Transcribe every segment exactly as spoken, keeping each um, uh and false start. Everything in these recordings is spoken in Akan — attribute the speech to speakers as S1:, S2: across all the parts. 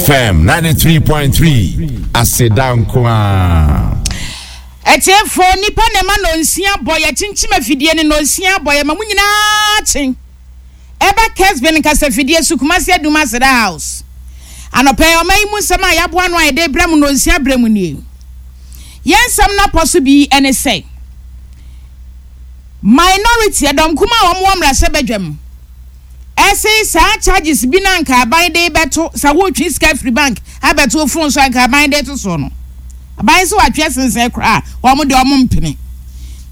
S1: F M ninety-three point three, aseda nko a.
S2: Ɛtiɛfoɔ, nipa na ɛma nonsia bɔ, yɛkyinkyim afidie no, nonsia bɔ, yɛma mo nyinaa kye ɛba Kesbin nkasafidie so, Kumasi Adum Aseda House. Anɔpɛ, ɔma yi mu nsɛm a yɛaboa no a yɛde brɛ mu nonsia brɛ mu nie. Yɛn nsɛm no apɔ so bi ɛne sɛ minority, ɛdɔm kuma a wɔn wɔ mmarahyɛ badwam, ɛse saa charges bi na nka aban de bɛto sɛ wotwi sika firi bank abɛto phone so, anka aban de to soɔ no, aban sɛ watwe sensɛn koraa, wɔn deɛ wɔn mpene.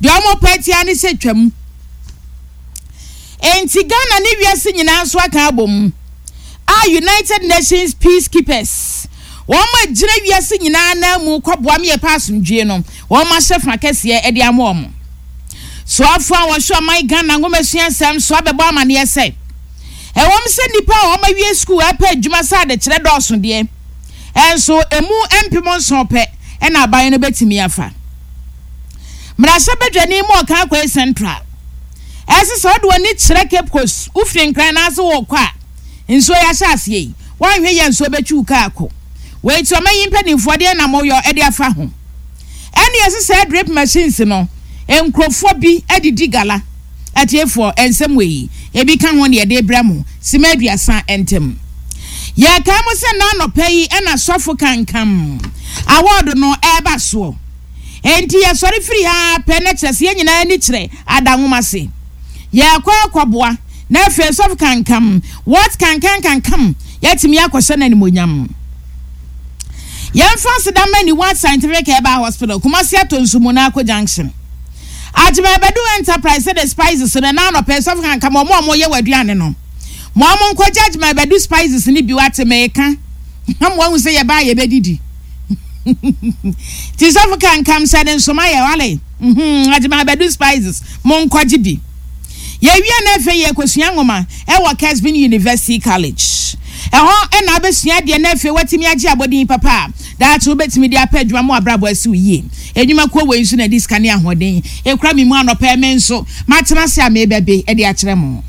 S2: Deɛ wɔn pɛ tia ne sɛ twam. Nti Ghana ne wiase nyinaa nso aka abɔ mu a United Nations peacekeepers, wɔn a gyina wiase nyinaa nan mu kɔboa mi yɛ pa asomdwie no, wɔn ahyɛ fa kɛseɛ de ama wɔn. Soafo a wɔhwɛ ɔman Ghana nwomasua nsɛm so abɛbɔ amaneɛ sɛ ɛwɔm sɛ nnipa a wɔn awie sukuu ɛpɛ adwuma sɛ adekyerɛ dɔɔso deɛ, ɛnso emu mpem nson pɛ ɛna aban no bɛtumi afa. Mmarahyɛbadwani mu ɔka akɔɛ Central ɛsɛ sɛ ɔde w'ani kyerɛ Cape Coast, wofiri Nkran n'ase wɔ kɔ a, nsuo yɛ ahyɛ aseɛ yi, wɔnhwɛ yɛ nsuo bɛtwi wo kaa kɔ. Wei ti ɔma yi mpanimfoɔ deɛ nam ɔyɔ ɛde afa ho. Ɛne ɛsɛ sɛ drip machines no, nkurɔfoɔ bi adidi gala. Atiefoɔ, nsɛm wɔ yi ebi ka ho ne yɛde brɛ mo sima aduasa ntɛm. Yɛka mo sɛ n'anɔpɛ yi ɛna Sɔfo Kankam award no ɛreba soɔ, enti yɛsɔre firi ha pɛ na kyerɛ sɛ yɛn nyinaa ani kyerɛ adanwoma se yɛkɔ akɔboa na afei Sɔfo Kankam, what kankan kankam, yɛtumi akɔhyɛ no animonyam. Yɛmfa aseda ma Niwa Scientific Herbal Hospital, Kumasi Ato Nsumu na Akɔ Junction, Agyemabadu Enterprise de spices no na anɔpɛ Sɔfo Kankam, ɔmo a ɔmo yɛ wɔ aduane no mo, ɔmo nkɔgye Agyemabadu spices no bi. Wate mɛɛka na mo ahu sɛ yɛbaa yɛbɛdidi ti Sɔfo Kankam sɛ ne nsoma yɛ wale. Agyemabadu spices, mo nkɔgye bi. Yɛwie na afei yɛkɔsua nwoma ɛwɔ Kesbin University College. Ɛhɔ ɛna abɛsua adeɛ na afei watumi agye abɔden papa a daakye wobɛtumi de apɛ adwuma mu, abrabɔ asi wo yie. Edwumakuo wei nso na di sika ne ahoɔden ekura mi mu. Anɔpɛ, me nso matena ase a mebɛbe ɛde akyerɛ mo.